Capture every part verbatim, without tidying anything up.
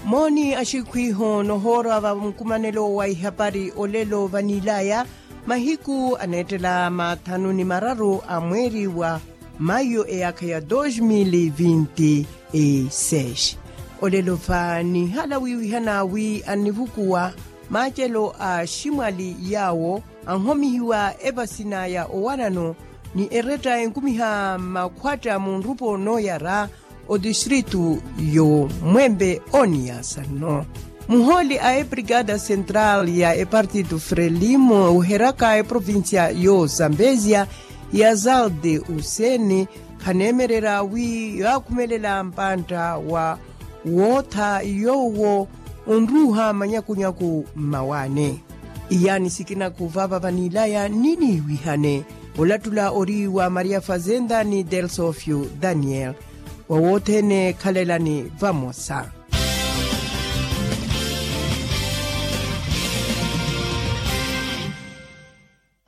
Mooni axikhwiho nohoora va nkumanelo wa ihapari olelo vanilaya mahiku aneettela mathanu ni mararu a mweeri wa mayo eyaakha ya dos mil vinti e seis. Olelo va nihala wiwihana wi annivukuwa maacelo a ximwali yaawo anhomihiwa evasina ya owanano ni eretta enkumiha makhwatta munrupo nooyara otistritu yo mwempe oniyasa nno. Muhooli a ebrigada central ya epartitu frelimo oheraka eprovincia yo zambezia ya zalde useni khaneemererya wi yaakhumelela mpantta wa wootha yoowo onruuha manyakunyaku mmawaani. Iyaani sikina khuvaava vanilaya niniiwihane. Olattula ori wa maria fazenda ni delsofio daniel. Wa wothene khalelani vamosa.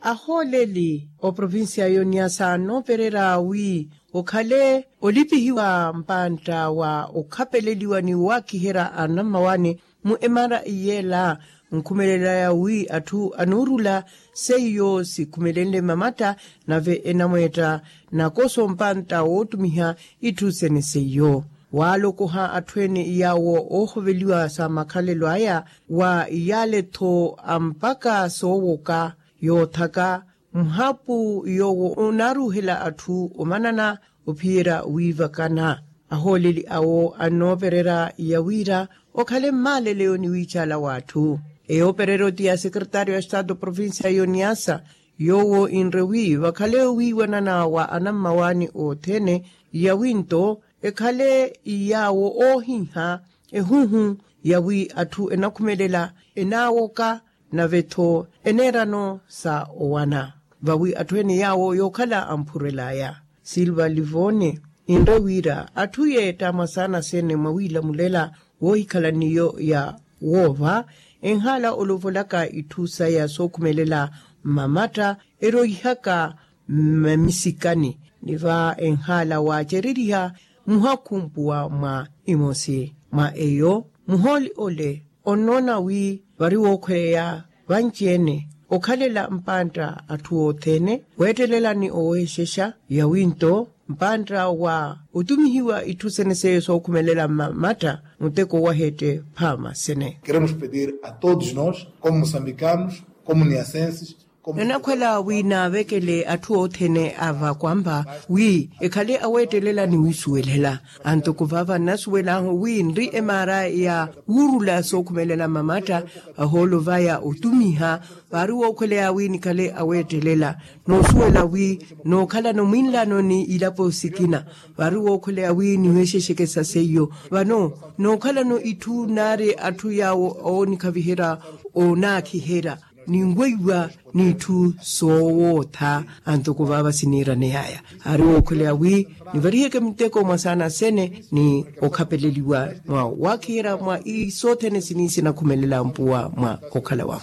Ahooleli oprovincia yoniasa noopererya wi okhale olipihiwa mpantta wa okhapeleliwa ni wakiherya anammawaani mu emara iyela nkhumelelaya wi atthu anuurula seiyo sikhumelenle mamatta nave enamweetta nakoso mpantta wootumiha itthu sene seiyo. Waalokoha atthu ene yaawo oohoveliwa sa makhalelo aya wa yaale-tho ampaka soowoka yoothaka muhapu yoowo onaaruuhela atthu omanana ophiyerya wiivakana. Ahooleli awo annoopererya yawiira okhale mmaaleleyo ni wiicaala w'atthu. Eyoopereryo ti ya sekretario ya estado provincia yoniasa yoowo inre wi vakhale wiiwanana wa anammawaani othene yawinto ekhale yaawo oohiha ehuhu yawi atthu enakhumelela enaawoka nave-tho eneerano sa owana vawi atthu ene yaawo yookhala amphurelaya. Silva livone inre wira atthu yeetta mwasaana sene mwawiilamulela woohikhala n'iyo ya woova enhaala olovolaka itthu saya sookhumelela mmamatta eroihaka mmamisikani ni va enhaala waacereriha muhakhumpuwa mwa imosi mwa eyo muhooli ole onnoona wi vari wookhweleya vanci-ene okhalela mpantta atthu othene weettelelani oweexexa yawinto mpantta wa otumihiwa itthu sene seiyo sookhumelela mmamatta muteko waheette phaama sene. Queremos pedir a todos nós como moçambicanos como niasenses. Nanakhwela wi naavekele atthu othene a vakwampha wi ekhale aweettelela ni wiisuwelela. Antoko vaava nnasuwel'ahu wi nri emaara ya wuurula sookhumelela mmamatta ahoolo vaya otumiha vaari wookhweleya wi nikhale aweettelela noosuwela wi nookhalano mwinlano ni ilapo sikina vaari wookhweleya wi niweexexekesa seiyo vano nookhalano itthu naari atthu yaawo oonikhaviherya onaakhiherya ninweiwa n'itthu soowootha. Antoko vaava siniiraneyaya aari wookhweleya wi nivariheke muteko mwa saana sene ni okhapeleliwa mwa waakhiherya mwa isothene sini sinakhumelela mpuwa mwa okhala wahu.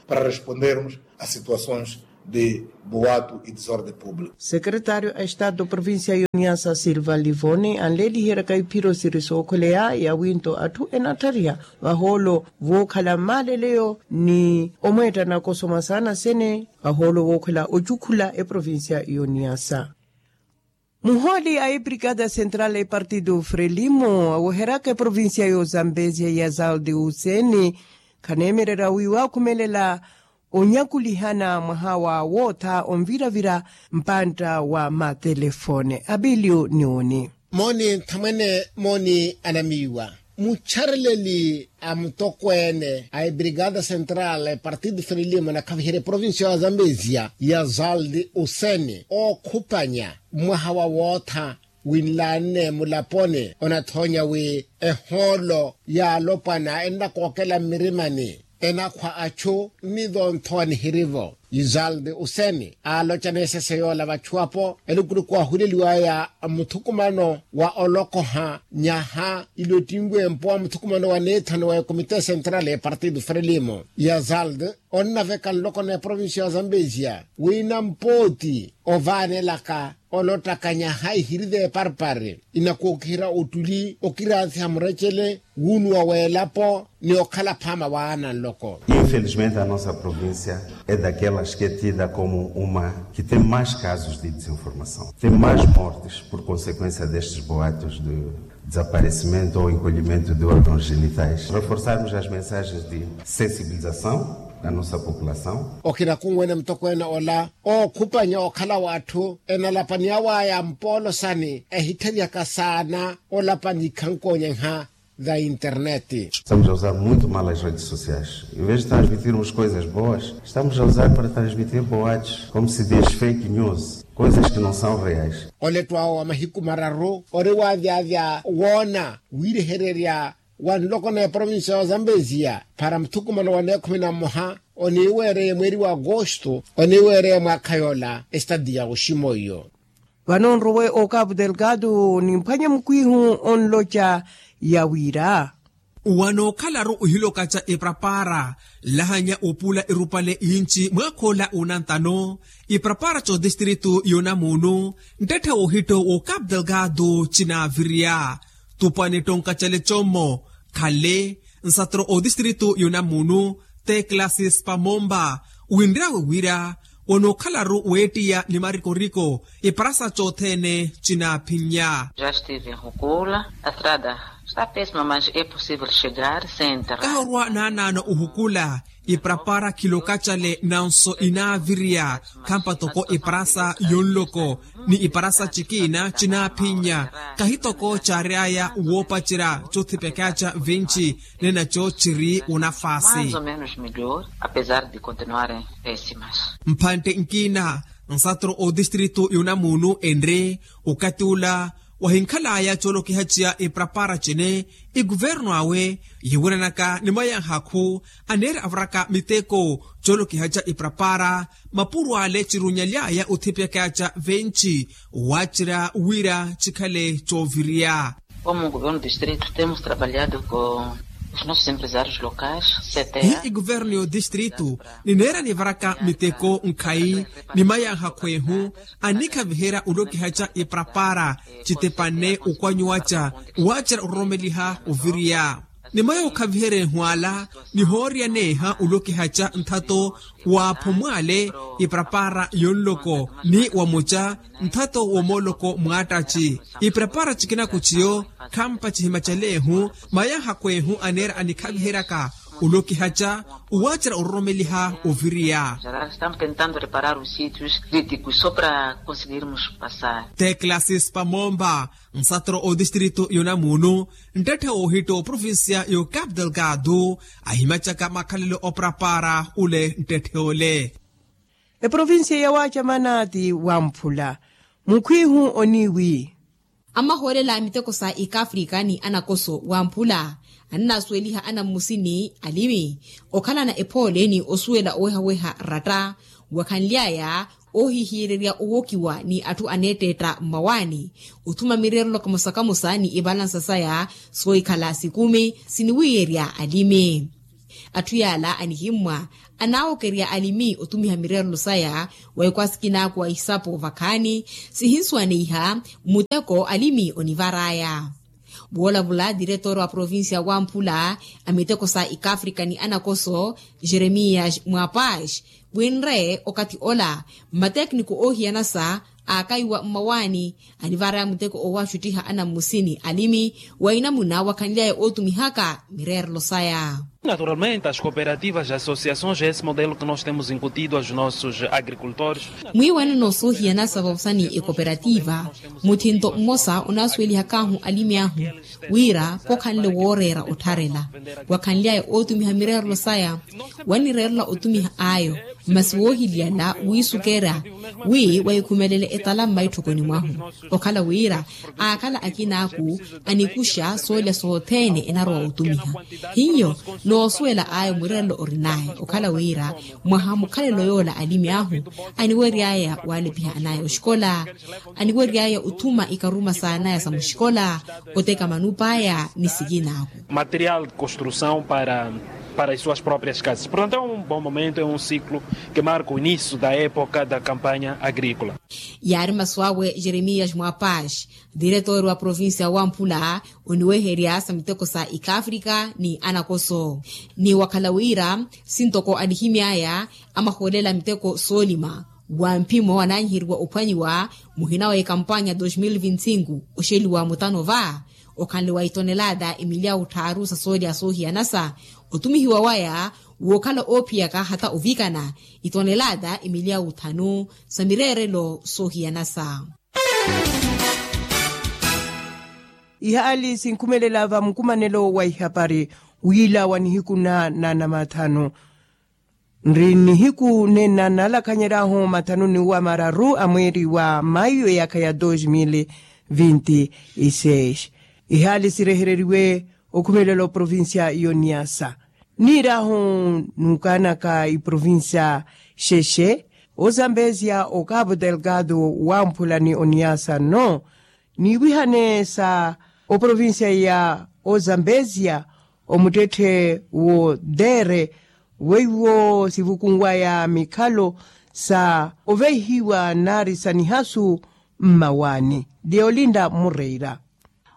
Para respondermos a situações de boato e desorde público. Sekretario a estado provincia yoniasa silva livoni anleeliheryaka iphiro siri sookhweleya yawinto atthu enatthariha vahoolo vookhala mmaaleleyo ni omweetta nakoso mwa saana sene vahoolo vookhwela ocukhula eprovincia yoniasa. Muhooli a ebrigada central epartido frelimo aweheryaka eprovincia y'ozambesia ya zalde useni khaneemererya wi waakhumelela onyakulihana mwaha wa wootha onviravira mpantta wa matelefone abilio niwoni. Mooni nthamwene mooni anamiiwa muchareleli a mutokweene a ebrigada central partido frelimo anakhaviherya eprovincia ya zambezia ya zaldi useni ookhupanya mwaha wa wootha winlaanne mulaponi onathoonya wi ehoolo ya alopwana ennakookela mmirimani enakhwa achu nni donthowa nihirivo. Izalde useni aaloca n'esese yoola vachuwapo elukuluku ahuleliwaya muthukumano wa olokoha nyaha ile ottinwe mpo wa muthukumano wa neethano wa ekomite central ya partido frelimo. Yazalde onnaveka nloko na eprovincia ya zambezia wina mpooti ovaanelaka olottaka nyaha ihiri t'eparpari inakookihira ottuli okiransiha murecele wuunuwa w'elapo ni okhala phaama waana nloko. Infelizmente a nossa provincia é daquelas que é tida como uma que tem mais casos de desinformação, tem mais mortes por consequência destes boatos de desaparecimento ou encolhimento de órgãos genitais, reforçarmos as mensagens de sensibilização da nossa população. Okina kunwene mutokweene ola ookhupanya okhala w'atthu enalapaniya waya mpoolo sani ehittheryaka saana olapani ikhankoonyeha za internet. Estamos a usar muito mal as redes sociais. Em vez de transmitirmos coisas boas, estamos a usar para transmitir boatos, como se diz fake news, coisas que não são reais. Olettwawo wa mahiku mararu ori waavyavya woona wiirehererya wa nloko na eprovincia ya ozambeziya para muthukumano wa neekhumi na mmoha oniiweereye mweeri wa agosto oniiweereye mwaakha yoola estadi ya oximoiyo. Vano nrowe o capu delgado nimphwanye mukwihu onloca ya wira. Wano okhalaru ohilokaca eprapara nlahanya opula erupale inci mwakha ola onantano iprapara cotistritu yonamuunu nttetta wohitto wo capu delgado cinaviriya. Tupwane tonkacale commo khale nsatro otistritu yonamuunu teklasis pamomba winryawe wira wano okhalaru weettiya ni marikoriko iparasa cothene cinaphinnya. Kaha orwa naanaano ohukula iprapara khilokacale nanso inaaviriya khampa toko iparasa yonloko ni iparasa cikiina cinaphinnya. Kahi toko caaryaya woopacerya cothipyakyaca venci nenaco ciri onafaasi. Mpantte nkiina nsatro otistritu yonamuunu enre okati ula wahinkhalaya coolokihaciya iprapara cene ikuvernu awe yiwiranaka ni mayanhakhu aneera avaraka miteko coolokihaca iprapara mapuro ale cirunyalyaya othipyakyaca venci wacerya wira cikhale cooviriya. Como governo distrito temos trabalhado com os nossos empresários locais. Hi ikuvernu y'otistritu nineera nivaraka miteko nkhayi ni mayanhakhu ehu annikhaviherya olokihaca iprapara citepanne okwanyuwaca wacerya ororomeliha oviriya. Ni maya okhaviherya ehu ala nihooreyaneeha olokihaca nthato waaphomwale iprapara yonloko ni wamuca nthato womooloko mwaattaci iprapara cikina kuciyo khampa cihimacaleehu mayanhakhu ehu aneera anikhaviheryaka olokihaca owaacera ororomeliha oviriya. Teklasi spamomba nsatro otistritu yonamuunu nttette woohitta oprovincia y'ocapu delgado ahimacaka makhalelo oprapara ule nttette ole. Eprovincia ya waacamana ti wamphula mukhwihu oniwi. Amahoolela a miteko sa ikafrika ni anakoso wamphula ananasuweliha anammusini alimi okhalana ephoole ni osuwela owehaweha ratta wakhanly'aya oohihiyererya owokiwa ni atthu aneetteetta mmawaani othuma mireerelo kamosa kamosa ni ivalansa saya soohikhala sikumi siniwiiyerya alimi. Atthu yaala anihimmwa anaawokerya alimi otumiha mireerelo saya wa ekwasi kinaku wa isapo vakhaani sihinsuwaneiha muteko alimi onivar'aya. Woolavula diretor wa provincia wamphula a miteko sa ikafrika ni anakoso jeremias mwapash winre okathi ola mmatekniko oohiyanasa aakaiwa mmawaani anivar'aya muteko owaxuttiha anammusini alimi wa inamuna wakhanly'aya ootumihaka mireerelo saya. Naturalmente as cooperativas as associações é esse modelo que nós temos incutido aos nossos agricultores. Mwiiwanano soohiyanasa vavosani ekoperativa muthinto mmosa onaasuwelihak'ahu alimi ahu wira khokhanle wooreera ottharela wakhanly'aya ootumiha mireerelo saya wanireerela otumiha ayo masi woohiliyala wiisukeera wi wahikhumelele etala mmaitthokoni mwahu okhala wira aakhala akinaaku anikuxa soolya sothene enarowa otumiha hiyo. Noosuwela aya omwiirelelo orinaye okhala wira mwaha mukhalelo yoola alimi ahu aniwery'aya waalipiha anaya oxikola, aniwery'aya othuma ikaruma saanaya sa muxikola, oteka manupa aya ni sikina ahu. Material de construção para para as suas próprias casas portanto é um bom momento é um ciclo que marca o início da época da campanha agrícola. Yaari masu awe jeremias mwapaxi, diretori wa provincia wamphula oniweherya sa miteko sa ikafrika ni anakoso. Ni wakhala wira sintoko anihimy'aya amahoolela miteko soolima wa mphimo ananyiheriwa ophwanyiwa muhina wa ekampanya dos mil vinti sinku oxeliwa mutano va okhanle wa itonelada emilyawu tthaaru sa soolya soohiyanasa otumihiwa waya wookhala oophiyaka hata ovikana itonelada emilyawu tthanu sa mireerelo soohiyanasa. Ihaali sinkhumelela va mukumanelo wa ihapari wiila wa nihiku na nanamathanu nri nihiku nena nalakhanyeryahu mathanuni wa mararu a mweeri wa mayu eyaakha ya dos mil vinti iseis. Ihaali sirehereriwe okhumelela oprovincia y'oniasa niiryahu nuukaanaka iprovincia xexe ozambezia okapu delgado wamphula ni oniasa nno niiwihane sa oprovincia ya ozambezia omuttetthe wo dere weiwo sivukunwaya mikhalo sa oveihiwa nari sa nihasu mmawaani. Deolinda murreira.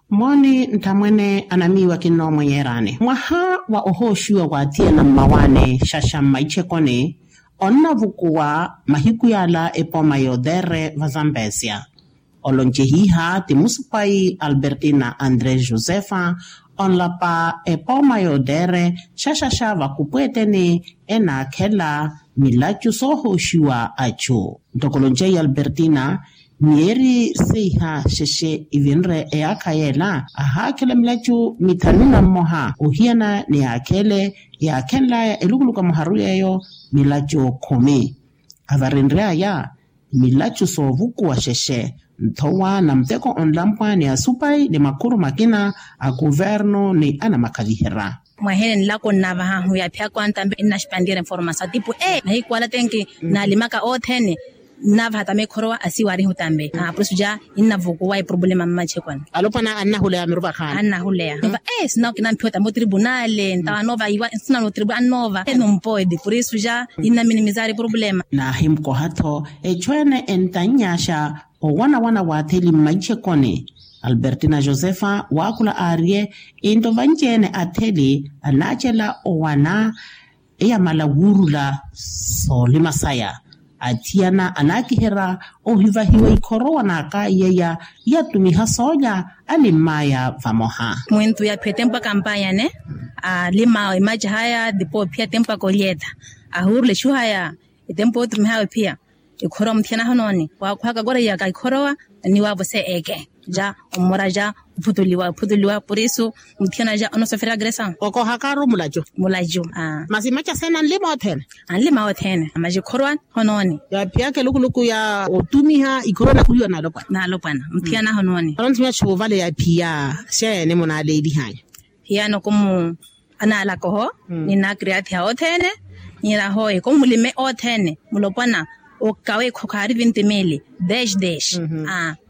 Mooni nthamwene anamiiwa kinnoomwenyerani mwaha wa ohooxiwa wa athiyana mmawaani xaxa mmaichekoni onnavukuwa mahiku yaala epooma y'otere va zambezia. Oloncehiha ti musupayi albertina andres josefa onlapa epooma y'otere xaxaxa vakupweeteni enaakhela milacu soohooxiwa acu. Ntoko oloncehiha albertina miyeeri seiha xexe ivinre eyaakha yeela ahaakhela milacu mithanu na mmoha ohiyana ni yaakhele yaakhenlaya elukuluku a muharu yeeyo milacu khumi. Avarenry'aya milacu soovukuwa xexe nthowa na muteko onlampwa ni asupayi ni makhuru makina a kuvernu ni anamakhaviherya. Mwahene nlako nnavahahu yaaphiya kwanta mbe nnaxipantiyerya informasawu tipu e mahiku ala tenki naalimaka othene nnavaha tame khorowa asiwaarihu tambe. Purisu ja innavukuwa eproblema mmachekwana. Alopwana annahuleya mirupa khaani annahuleya. Nova e sinawo kinamphiwa tambe otribunale ntawa anova iwa sinano otribunale annova enumpoedi purisu ja innaminimizaari eproblema. Naahimukoha-tho echu ene entanny'axa owanawana w'atheli mmaichekoni. Albertina josefa waakhula aarye into vanci-ene atheli anaacela owana eyamala wuurula soolima saya. Athiyana anaakiherya ohivahiwa ikhorowa n'akaiyeya yatumiha soolya alimm'aya vamoha. Mwintu yaaphiya etempu akampanyane alima emacahaya tipo ophiya etempu akolyeta ahuurula exuhaya etempu otumihawe ophiya. Ikhorowa muthiyana ahonooni waakhwaka koreiyaka ikhorowa niwaavo se eke ja omora ja ophutuliwa ophutuliwa purisu muthiyana ja onosoferya agresa. Okohakaru mulacu mulacu. Masi maca sene anlima othene anlima othene amaci khorowa ahonooni. Yaaphiyaka elukuluku ya otumiha ikhorowa nakhuhiwa naalopwana naalopwana muthiyana ahonooni. Olonthu myachu ovale yaaphiya xeene munaaleelihanya. Hiyano komu anaalaka oho ni naakiriyathiha othene. Niira hoye komulime othene mulopwana okawe khokhaari vinti mili desh desh.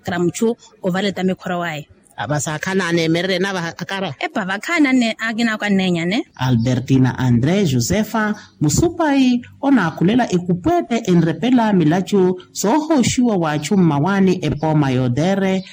Kara muchu ovale tamikhoro waye. Vasa akhaana aneemererye nava akara epa vakhaana akina ako annenyane. Albertina andre josefa musupayi onaakhulela ekupweete enrepela milacu soohooxiwa w'achu mmawaani epooma y'otere.